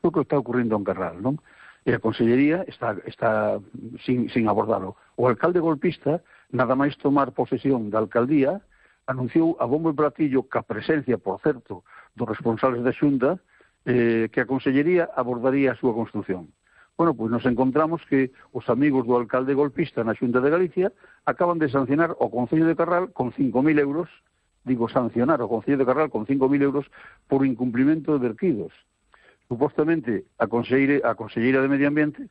o que está ocurrindo en Carral, non? E a Consellería está sin abordalo. O alcalde golpista, nada máis tomar posesión da alcaldía, anunciou a bombo e platillo que a presencia, por certo, dos responsables da Xunta, que a Consellería abordaría a súa construción. Bueno, pois nos encontramos que os amigos do alcalde golpista na Xunta de Galicia acaban de sancionar o Concello de Carral con 5.000 euros, sancionar o Concello de Carral con 5.000 euros por incumprimento de verquidos. Supostamente, a Conselleira de Medio Ambiente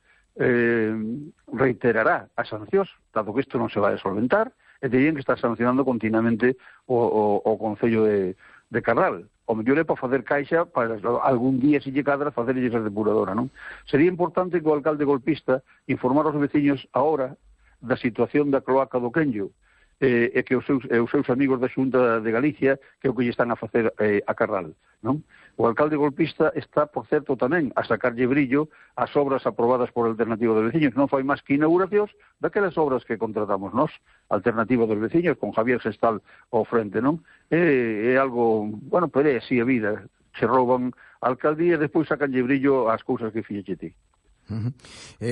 reiterará as sancións, dado que isto non se vai a solventar, e terían que estar sancionando continuamente o Concello de Carral. O mellor é para facer caixa para algún día se lle cadra facerlles a depuradora, non? Sería importante que o alcalde golpista informar aos veciños agora da situación da cloaca do Quenllo e que os seus amigos da Xunta de Galicia que é o que lle están a facer a Carral, non? O alcalde golpista está, por certo, tamén a sacarlle brillo ás obras aprobadas por Alternativa dos Veciños. Non fai máis que inauguracións daquelas obras que contratamos nós, Alternativa dos Veciños, con Javier Sestal ao frente, non? É algo, bueno, pero é así a vida. Se rouban a alcaldía e despois sacanlle brillo ás cousas que fixeche ti.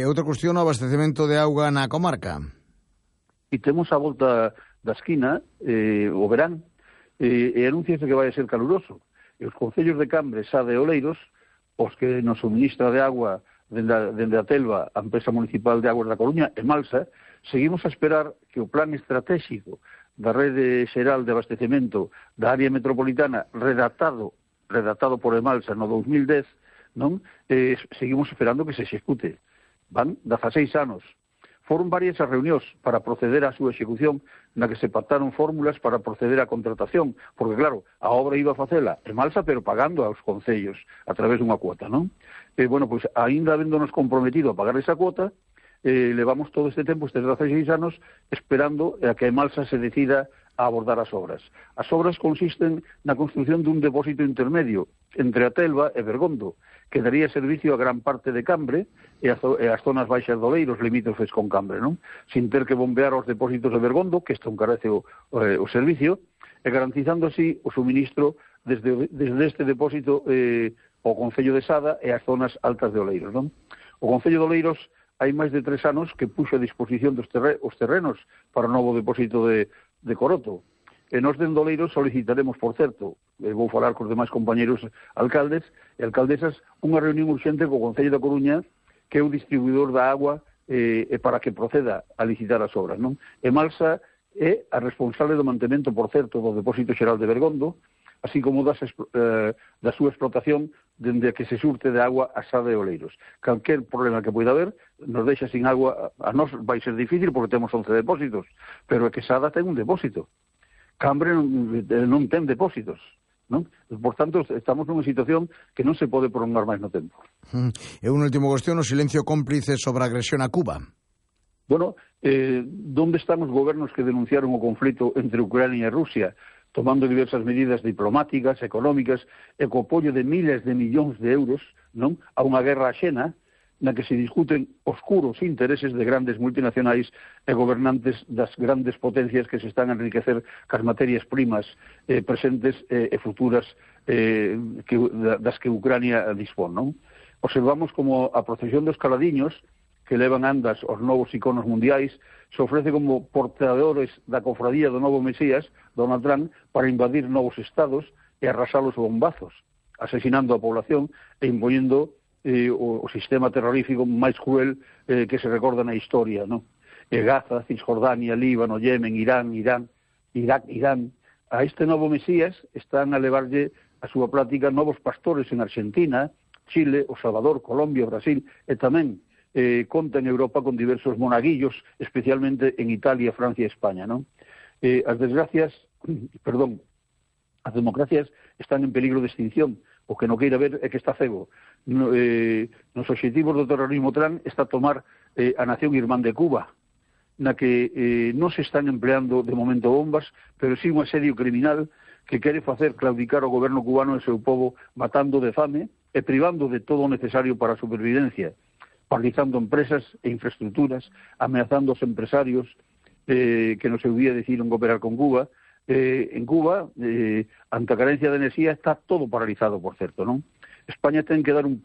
Outra cuestión, o abastecemento de auga na comarca. E temos a volta da esquina, o verán, e anunciase que vai a ser caluroso. E os concellos de Cambre, Sada e Oleiros, os que nos suministra de agua dende a Telva, a empresa municipal de aguas da Coruña, e Malsa, seguimos a esperar que o plan estratégico da rede xeral de abastecemento da área metropolitana redactado por Emalsa no 2010, non? Seguimos esperando que se execute. Van 16 anos. Foron varias as reunións para proceder á súa execución, na que se pactaron fórmulas para proceder á contratación, porque, claro, a obra iba a facela Emalsa, pero pagando aos concellos a través dunha cuota, non? Bueno, pois, aínda habéndonos comprometido a pagar esa cuota, levamos todo este tempo, estes 16 anos, esperando a que Emalsa se decida a abordar as obras. As obras consisten na construción dun depósito intermedio entre a Telva e Bergondo, que daría servicio a gran parte de Cambre e as zonas baixas de Oleiros limítrofes con Cambre, non? Sin ter que bombear os depósitos de Bergondo, que isto encarece o servicio, e garantizando así o suministro desde este depósito ao Concello de Sada e as zonas altas de Oleiros, non? O Concello de Oleiros hai máis de 3 anos que puxo a disposición dos terrenos para o novo depósito de Coroto. E nós dende Oleiros solicitaremos, por certo, vou falar cos demais compañeros alcaldes e alcaldesas, unha reunión urxente co Concello da Coruña, que é o distribuidor da agua, para que proceda a licitar as obras, non? Emalsa é a responsable do mantemento, por certo, do Depósito Xeral de Bergondo, así como da súa explotación dende que se surte de agua a Sada e Oleiros. Calquer problema que poida haber nos deixa sin agua. A nós vai ser difícil porque temos 11 depósitos, pero é que Sada ten un depósito. Cambre non ten depósitos, non? Por tanto, estamos nunha situación que non se pode prolongar máis no tempo. E unha última cuestión, o silencio cómplice sobre a agresión a Cuba. Bueno, onde están os gobernos que denunciaron o conflito entre Ucrania e Rusia, tomando diversas medidas diplomáticas, económicas, e co apoio de miles de millóns de euros, non? A unha guerra axena, na que se discuten oscuros intereses de grandes multinacionais e gobernantes das grandes potencias que se están a enriquecer cas materias primas presentes e futuras das que Ucrania dispón, non? Observamos como a procesión dos caladiños, que levan andas os novos iconos mundiais, se ofrece como portadores da cofradía do novo Mesías, Donald Trump, para invadir novos estados e arrasalos bombazos, asesinando a población e impoñendo o sistema terrorífico máis cruel que se recorda na historia, non? Gaza, Cisjordania, Líbano, Yemen, Irán, Irak, Irán. A este novo Mesías están a levarlle a súa plática novos pastores en Argentina, Chile, O Salvador, Colombia, Brasil, e tamén conta en Europa con diversos monaguillos, especialmente en Italia, Francia e España, non? As democracias están en peligro de extinción. O que non queira ver é que está cego. Nos obxectivos do terrorismo Trump está tomar a nación irmán de Cuba, na que non se están empleando de momento bombas, pero sí un asedio criminal que quere facer claudicar o goberno cubano e o seu povo, matando de fame e privando de todo o necesario para a supervivencia, paralizando empresas e infraestructuras, ameazando os empresarios que no seu día decidiron cooperar con Cuba. En Cuba, ante a carencia de enerxía, está todo paralizado, por certo, non? España ten que dar un paso